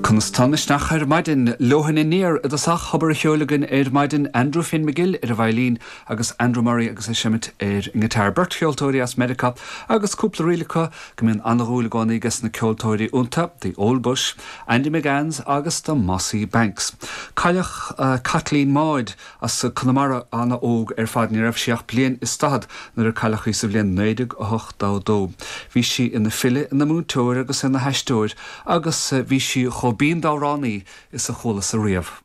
Conas tá an misneach ar maidin? Leoithne Aniar i dtosach, obair an cheoil againn ar maidin, Andrew Finn McGill ar an veidhlín agus Andrew Murray agus é ag seimint ar an ngiotár. Beirt cheoltóirí as Meiriceá agus cúpla ríl acu go mbíonn an-dhúil i gcónaí ages na ceoltóirí iontu, The Old Bush, Andy McGanns agus The Mossy Banks. Cailleadh Caitlín Maude As Conamara, an-óg ar fad, ní raibh sí ach bliain is daichead nuair a cailleadh í sa bhliain 1982. Bhí sí ina file, ina múinteoir agus ina haisteoir agus bhí sí chomh binn d'amhránaí is a chualas-sa riamh.